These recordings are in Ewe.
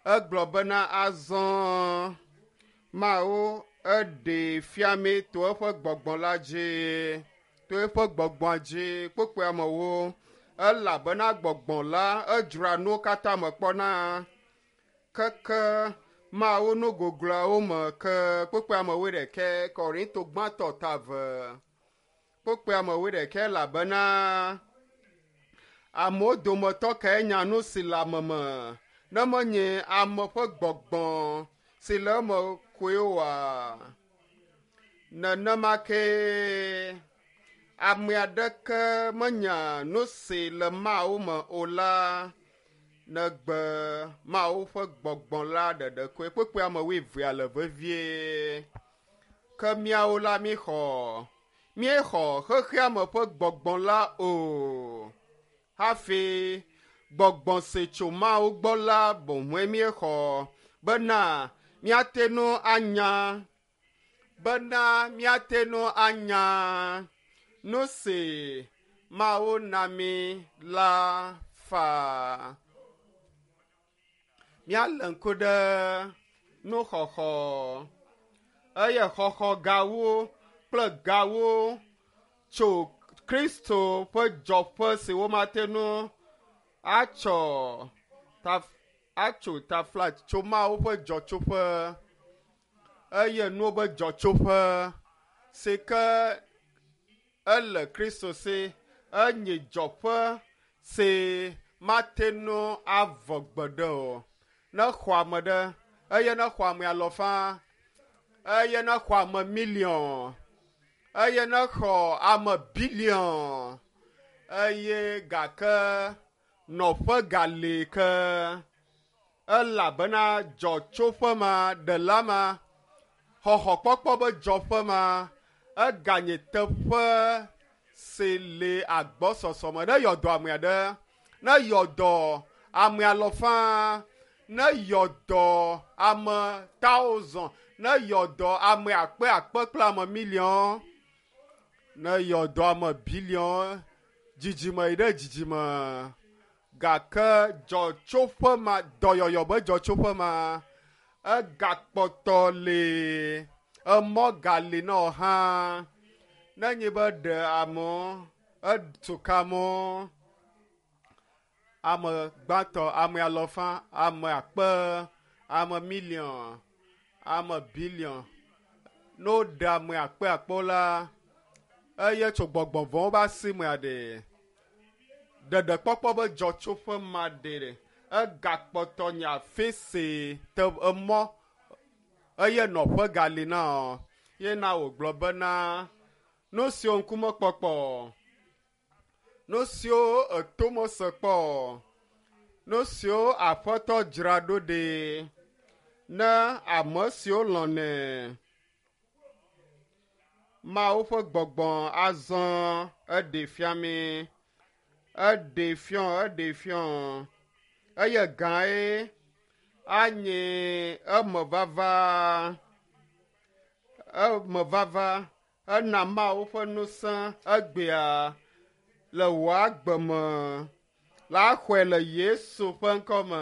Egblɔ bena azɔ Mawu eɖee fia mí to eƒe gbɔgbɔ la dzi, to eƒe gbɔgbɔa dzi kpokpoe amewo elabena gbɔgbɔ la edzroa nuwo katã me kpɔna keke Mawu nu gogloawo me ke kpokpoe amewo ɖekɛ Korinto gbãtɔ ta ve kpokpoe amewo ɖekɛ elabena amewo dometɔ kae nya nu si le ame me ne menye ame ƒe gbɔgbɔ si le eme koe oa? Nenema kee ame aɖeke menya nu si le Mawu me o la negbe Mawu ƒe gbɔgbɔ la ɖeɖe koe. Kpukpui ame wuievea le vevie. Ke míawo la míexɔ míexɔ xexeame ƒe gbɔgbɔ la o. Hafi gbɔgbɔ si tso Mawu gbɔ la boŋue míexɔ bena míate ŋu anya bena míate ŋu anya nu si Mawu na mí la faa. Míalé ŋku ɖe nuxɔxɔ eye xɔxɔ gawo kple gawo tso Kristo ƒe dzɔƒe si womate ŋu atsɔ taf atso tafla tso Mawu ƒe dzɔtsoƒe eye nuwo be dzɔtsoƒe si ke ele Kristo si enye dzɔƒe si mate ŋu avɔ gbeɖe o. Ne xɔ ame ɖe eye ne xɔ ame alɔfa eye ne xɔ ame miliɔn eye ne xɔ ame biliɔn eye gake nɔƒe gali ke elabena dzɔtsoƒe ma ɖela ma xɔxɔkpɔkpɔ be dzɔƒe ma eganye teƒe si le agbɔsɔsɔ me ne yɔdɔ ame aɖe ne yɔdɔ ame alɔfa ne yɔdɔ ame thousand ne yɔdɔ ame akpe akpe kple ame miliɔn ne yɔdɔ ame biliɔn dzidzime yi ɖe dzidzime gake dzɔtsoƒe ma dɔyɔyɔ be dzɔtsoƒe ma egakpɔtɔ li emɔ gali na wo hã nenye be ɖe amewo etu ka amewo ame gbãtɔ ame alɔfa ame akpe ame miliɔn ame biliɔn ne woɖe ame akpe akpe la eye tso gbɔgbɔ vɔ̃wo be asi mea ɖe ɖeɖekpɔkpɔ be dzɔtsoƒe ma ɖe egakpɔtɔ nye afi si te emɔ eye nɔƒe gali na wo ye na wògblɔ bena nu siwo ŋkume kpɔkpɔ nu siwo eto mese kpɔ nu siwo aƒetɔ dzra ɖo ɖi ne ame siwo lɔ̃nɛ Mawu ƒe gbɔgbɔ azɔ eɖe fia mí eɖe fiɔ eɖe fiɔ eye gãe anye emevava emevava ena Mawu ƒe ŋusẽ egbea le wò agbe me la xɔe le Yesu ƒe ŋkɔ me.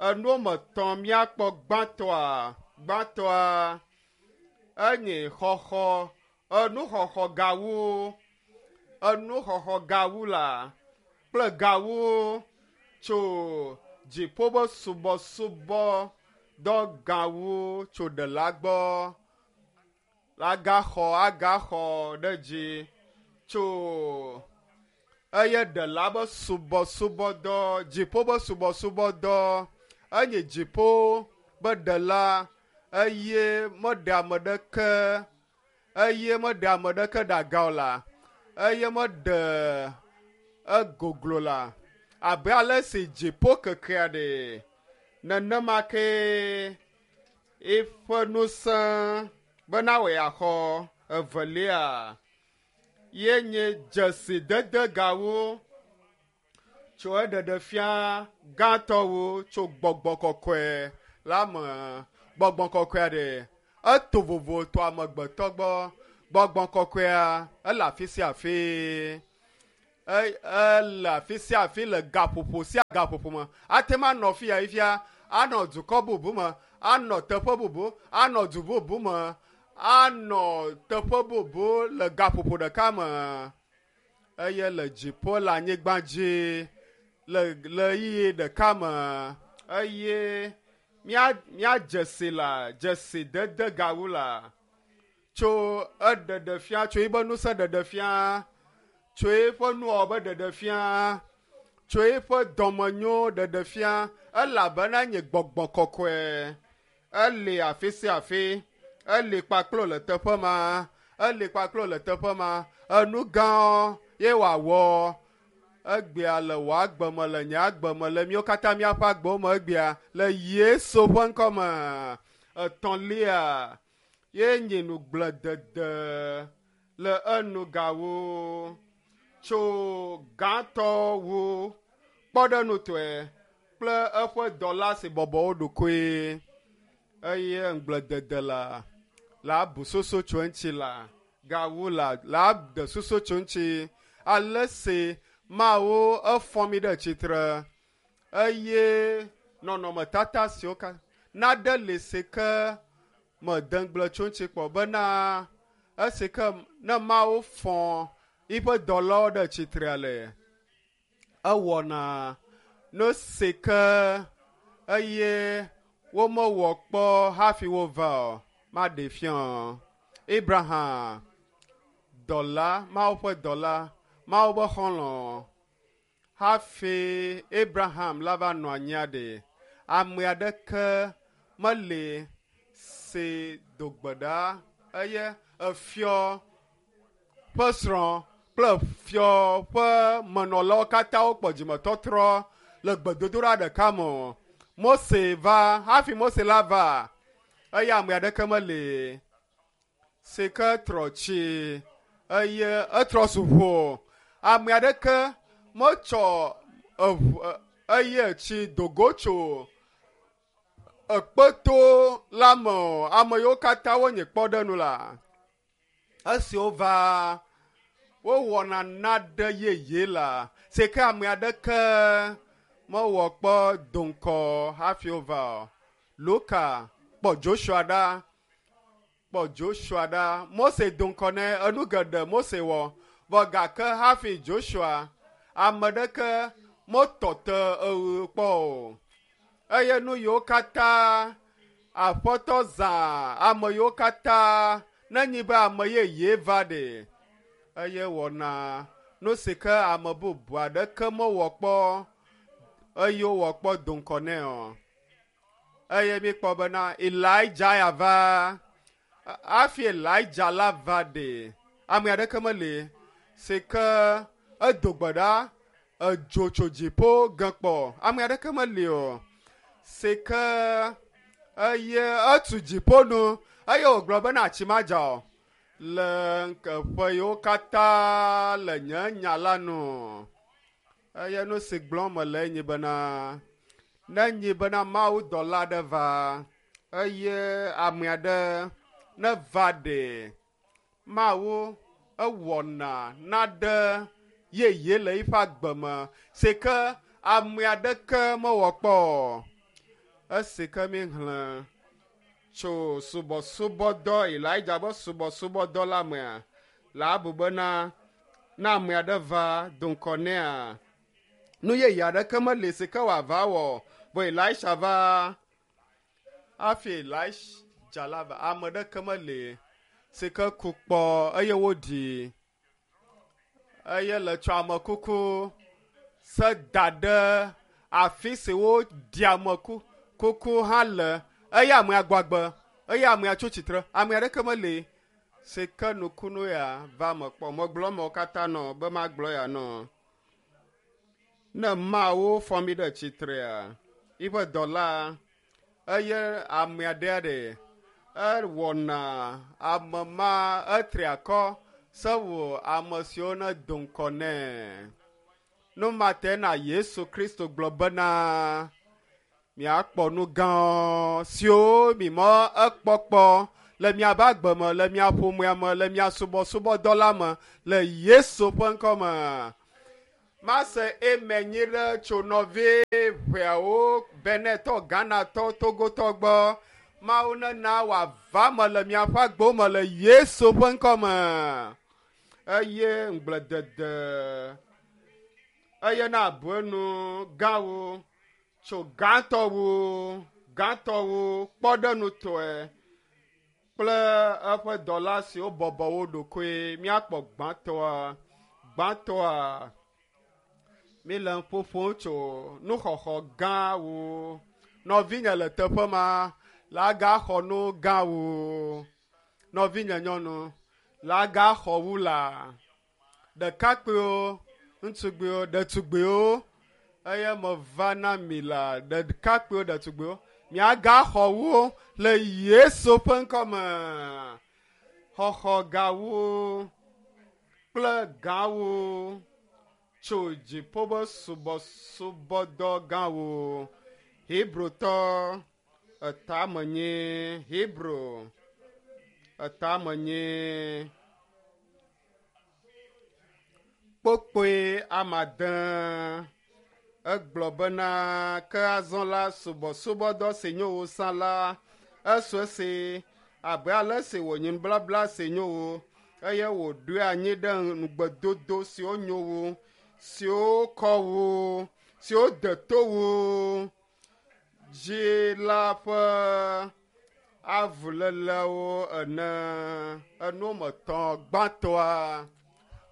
Enuwo me tɔ̃ míakpɔ gbãtɔa gbãtɔa enye xɔxɔ enuxɔxɔ gawu enuxɔxɔ gawu la kple gawu tso dziƒo be subɔsubɔ dɔ gawu tso ɖela gbɔ agaxɔ agaxɔ ɖe dzi tso eye ɖela be subɔsubɔdɔ dziƒo be subɔsubɔdɔ enye dziƒo be ɖela eye meɖe ame ɖeke eye meɖe ame ɖeke ɖe aga o la eye meɖe egoglo la abe ale si dziƒo kekea ɖe nenema kee eƒe ŋusẽ bena wòe axɔ evelia ye nye dzesidede gawo tso eɖeɖefia gãtɔwo tso gbɔgbɔ kɔkɔe la me gbɔgbɔ kɔkɔea ɖe eto vovo to amegbetɔ gbɔ gbɔgbɔ kɔkɔea ele afi sia afi ele afi sia afi le gaƒoƒo sia gaƒoƒo me ate ŋu anɔ fi ya fia anɔ dukɔ bubu me, anɔ teƒe bubu, anɔ du bubu me, anɔ teƒe bubu le gaƒoƒo ɖeka me eye le dziƒo le anyigba dzi le ɣeyiɣi ɖeka me eye míadze si la dzesi dede gawu la tso eɖeɖe fia tso eƒe ŋusẽ ɖeɖe fia tso eƒe nuwɔwɔ be ɖeɖe fia tso eƒe dɔmenyo ɖeɖe fia elabena nye gbɔgbɔ kɔkɔe eli afi sia afi eli kpakplo le teƒe ma eli kpakplo le teƒe ma enu gãwo ye wòawɔ egbea le wò agbe me le nye agbe me le míawo katã míaƒe agbewo me egbea le Yesu ƒe ŋkɔ me. Etɔ̃lia ye nye nugbledede le enugawo tso gãtɔwo kpɔɖeŋutɔe kple eƒe dɔla si bɔbɔ wo ɖokoe eye ŋugbledede la la bu soso tso eŋuti la gawu la la ɖe soso tso eŋuti ale si Mawu efɔ mi ɖe tsitre eye nɔnɔmetata siwo ka naɖe li si ke mede ŋugble tso eŋuti kpɔ bena esi ke ne Mawu fɔ eƒe dɔlawo ɖe tsitrea le ewɔna nu si ke eye womewɔ kpɔ hafi wova o maɖe fia. Abraham dɔla, Mawu ƒe dɔla, Mawu ƒe xɔlɔ̃ hafi Abraham la va nɔ anyia ɖe ame aɖeke meli si do gbe ɖa eye efiɔ ƒe srɔ̃ kple fiɔ ƒe menɔlawo katã wokpɔ dzimetɔtrɔ le gbedodoɖa ɖeka me o. Mose va hafi Mose la va eye ame aɖeke meli si ke trɔ tsi eye etrɔ zu ʋu. Ame aɖeke metsɔ eʋu eye tsi dogo tso ekpeto la me o. Ame yiwo katã wonye kpɔɖeŋu la esi wova wowɔna naɖe yeye la si ke ame aɖeke mewɔ kpɔ do ŋkɔ hafi wova o. Luka kpɔ Joshua ɖa kpɔ Joshua ɖa. Mose do ŋkɔ nɛ enu geɖe Mose wɔ vɔ gake hafi Joshua ame ɖeke metɔ te eɣe kpɔ o. Eye nu yiwo katã Aƒetɔ zã ame yiwo katã nenyi be ame yeye va ɖe eye wɔna nu si ke ame bubu aɖeke mewɔ kpɔ eye wowɔ kpɔ do ŋkɔ nɛ o. Eye míkpɔ bena Elijah ya va hafi Elijah la va ɖe ame aɖeke meli si ke edo gbe ɖa edzo tso dziƒo ge kpɔ ame aɖeke meli o si ke eye etu dziƒo nu eye wògblɔ bena tsi madza o le ƒe yiwo katã le nye nya la nu. Eye nu si gblɔm mele enyi bena nenyi bena Mawu dɔla aɖe va eye ame aɖe neva ɖe Mawu ewɔna naɖe yeye le eƒe agbe me si ke ame aɖeke mewɔ kpɔ o. Esi ke míexlẽ tso subɔsubɔdɔ Elijah ƒe subɔsubɔdɔ la mea, la abu bena ne ame aɖe va do ŋkɔ nɛa, nu yeye aɖeke meli si ke wòava wɔ vɔ Elisha va hafi Elijah la va ame ɖeke meli si ke ku kpɔ eye woɖi eye le tsɔ ame kuku se da ɖe afi si woɖi ame kuku hã le eye amea gbɔ agbe eye amea tso tsitre ame aɖeke meli si ke nukunu ya va me kpɔ. Megblɔ mewo katã nɔ be magblɔ ya nɔ. Ne Mawu fɔ mi ɖe tsitrea, yiƒe dɔla eye amea ɖea ɖe ewɔna ame ma etri akɔ sewu ame siwo ne do ŋkɔ nɛ. Nu ma te na Yesu Kristo gblɔ bena miakpɔ nu gãwo siwo mi mɔ ekpɔkpɔ le miaƒe agbe me, le mia ƒomea me, le mia subɔsubɔdɔ la me, le Yesu ƒe ŋkɔ me. Mase amen nyi ɖe tso nɔvi Ʋeawo, Benetɔ, Ghanatɔ, Togotɔ gbɔ. Mawu nena wòava me le miaƒe agbewo me le Yesu ƒe ŋkɔ me. Eye ŋugbledede eye na abu enu gãwo tso gãtɔwo, gãtɔwo kpɔɖenutɔe kple eƒe dɔla siwo bɔbɔ wo ɖokoe. Míakpɔ gbãtɔa, gbãtɔa míle ƒoƒom tso nuxɔxɔ gãwo. Nɔvinye le teƒe ma la gaxɔ nu gãwo. Nɔvinye nyɔnu la gaxɔ wu la. Ɖekakpuiwo, ŋutsuviwo, ɖetugbiwo eye meva na mi la ɖekakpuiwo, ɖetugbiwo miagaxɔ wo le Yesu ƒe ŋkɔ me. Xɔxɔ gawo kple gãwo tso dziƒo be subɔsubɔdɔ gãwo. Hebrotɔ etamenye, Hebro etamenye kpokpoe amade. Egblɔ bena ke azɔ la subɔsubɔdɔ si nyo wu sã la esu esi abe ale si wònyi nublabla si nyo wu eye wòɖoe anyi ɖe ŋugbedodo siwo nyo wu, siwo kɔ wu, siwo de to wu dzi la ƒe avulélewo ene. Enu me tɔ̃ gbãtɔa,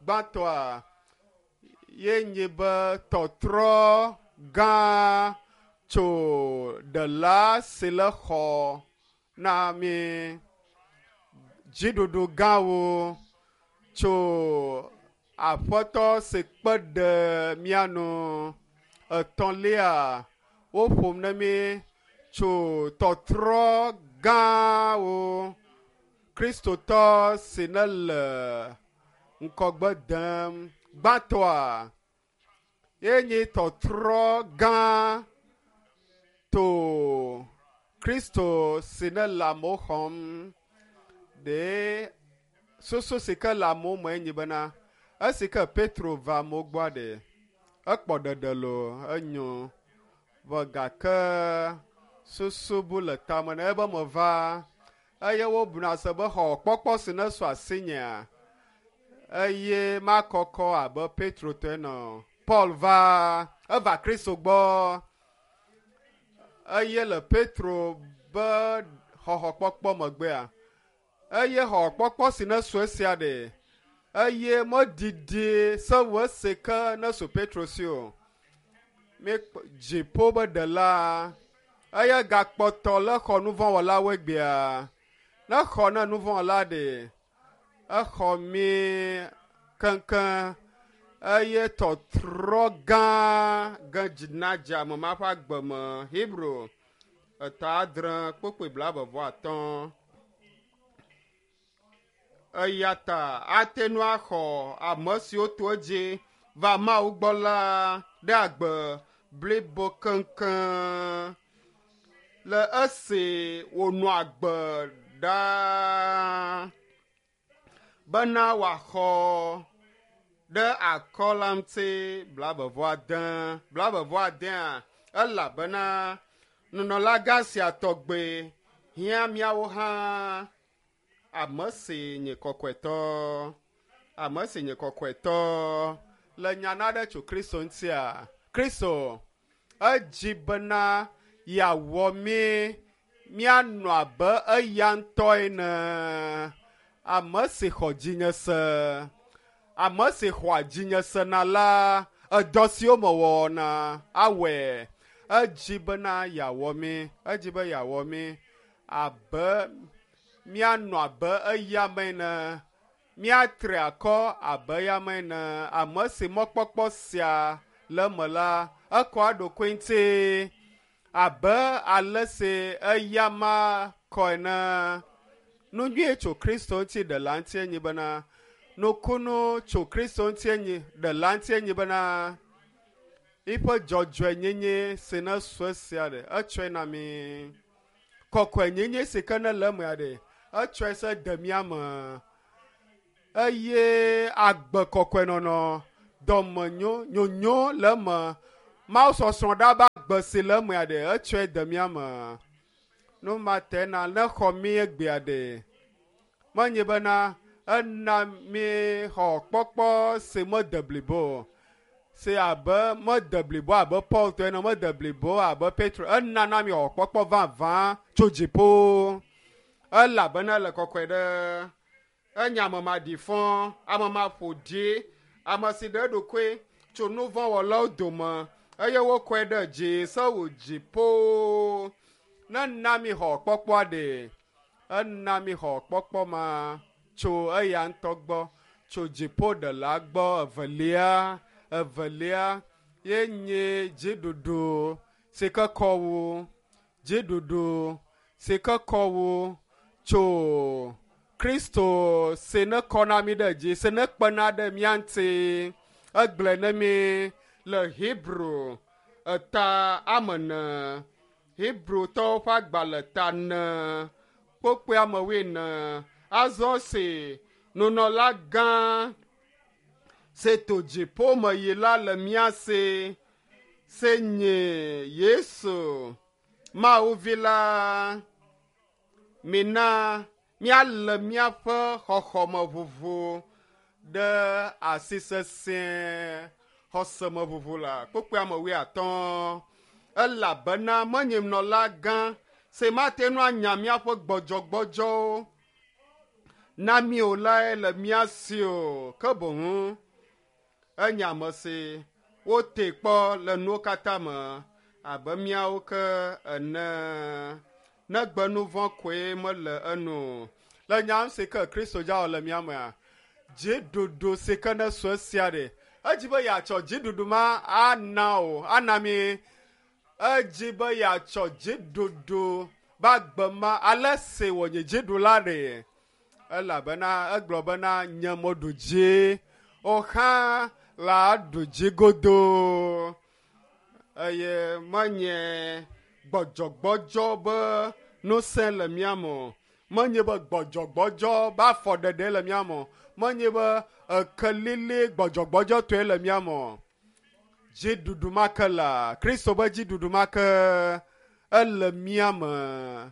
gbãtɔa ye nye be tɔtrɔ gã tso ɖela si le xɔ na mi, dziɖuɖu gãwo tso aƒetɔ si kpe ɖe mía nu. Etɔ̃lia, woƒom na mi tso tɔtrɔ gãwo Kristotɔ si ne le ŋkɔgbe dem. Gbãtɔa ye nye tɔtrɔ gã to Kristo si ne le amewo xɔm. Ɖe susu si ke le amewo me enyi bena esi ke Petro va amewo gbɔa ɖe ekpɔ ɖeɖe loo enyo vɔ gake susu bu le tame na ebe meva eye wobuna se be xɔ kpɔkpɔ si ne su asinyea eye makɔkɔ abe Petro tɔe nɔ. Paul va eva Kristo gbɔ eye le Petro be xɔxɔkpɔkpɔ megbea eye xɔxɔkpɔkpɔ si ne su esia ɖe eye medidi sewu esi ke ne su Petro si o. Mi dziƒo be ɖela eye gakpɔtɔ le xɔ nuvɔ̃wɔlawo egbea. Ne xɔ ne nuvɔ̃wɔla ɖe exɔ mi keŋkeŋ eye tɔtrɔ gã ge dzi na dze ame ma ƒe agbe me. Hebro eta adre kpokpoe blaeve-vɔ-atɔ̃. Eya ta ate ŋu axɔ ame siwo to edzi va Mawu gbɔ la ɖe agbe blibo keŋkeŋ le esi wònɔ agbe ɖaa bena wòaxɔ ɖe akɔ la ŋuti blaeve-vɔ-ade. Blaeve-vɔ-adea elabena nunɔlagã sia tɔgbe hiã míawo hã ame si nye kɔkɔetɔ, ame si nye kɔkɔetɔ le nya na ɖe tso Kristo ŋutia. Kristo edzi bena yeawɔ mí míanɔ abe eya ŋutɔ ene. Ame si xɔ dzinye se, ame si xɔa dzinye sena la, edɔ siwo mewɔna awɔe. Edzi bena yeawɔ mí, edzi be yeawɔ mí abe míanɔ abe eya me ene, míatre akɔ abe eya me ene. Ame si mɔkpɔkpɔ sia le eme la, ekɔa eɖokui ŋuti abe ale si eya ma kɔ ene. Nu nyui tso Kristo ŋuti ɖela ŋuti enyi bena nukunu tso Kristo ŋuti enyi ɖela ŋuti enyi bena eƒe dzɔdzɔenyenye si ne su esia ɖe etsɔe na mi. Kɔkɔenyenye si ke ne le emea ɖe etsɔe se de mía me eye agbe kɔkɔenɔnɔ, dɔmenyo, nyonyo le eme. Mawu sɔsrɔ̃ ɖa be agbe si le emea ɖe etsɔe de mía me. Nu ma te na ne xɔ mí egbea ɖe. Menye bena ena mí xɔ kpɔkpɔ si mede blibo o. Si abe mede blibo abe Paul tɔ ene, mede blibo abe Petro. Ena na mí xɔ kpɔkpɔ vavã tso dziƒo. Elabena ele kɔkɔe ɖe. Enye ame maɖifɔ, ame maƒoɖi, ame si ɖe eɖokui tso nu vɔ̃ wɔlawo dome eye wokɔe ɖe dzi sewu dziƒo. Ne na mi xɔ kpɔkpɔa ɖe, ena mi xɔ kpɔkpɔ ma tso eya ŋutɔ gbɔ, tso dziƒo ɖela gbɔ. Evelia, evelia ye nye dziɖuɖu si ke kɔ wu, dziɖuɖu si ke kɔ wu tso Kristo si ne kɔ na mi ɖe dzi, si ne kpena ɖe mía ŋuti. Egblɔe ne mi le Hebrew eta ame ene, Hebrewtɔwo ƒe agbalẽ ta ene, kpokpoe ame wuiene. Azɔ si nunɔla gã si to dziƒo me yi la le mía si, si nye Yesu, Mawu vi la, mina míalé míaƒe xɔxɔmeʋuʋu ɖe asi sesĩe. Xɔsemeʋuʋu la kpokpoe ame wuiatɔ̃. Elabena menye nunɔla gã si mate ŋu anya míaƒe gbɔdzɔgbɔdzɔwo na mí o lae le mía si o. Ke boŋ enye ame si wotee kpɔ le nuwo katã me abe míawo ke ene. Negbe nu vɔ̃ koe mele enu o. Le nya si ke Kristo dza wɔ le mía mea, dziɖuɖu si ke ne su esia ɖe, edzi be yeatsɔ dziɖuɖu ma ana o, ana mi. Edzi be yeatsɔ dziɖuɖu be agbe ma ale si wònye dziɖula ɖe. Elabena egblɔ bena nye meɖu dzi, o hã la ɖu dzi godoo. Eye menye gbɔdzɔgbɔdzɔ be ŋusẽ le mía me o. Menye be gbɔdzɔgbɔdzɔ be afɔɖeɖe le mía me o. Menye be ekelili gbɔdzɔgbɔdzɔtɔe le mía me o. Dziɖuɖu ma ke la, Kristo be dziɖuɖu ma ke ele mía me.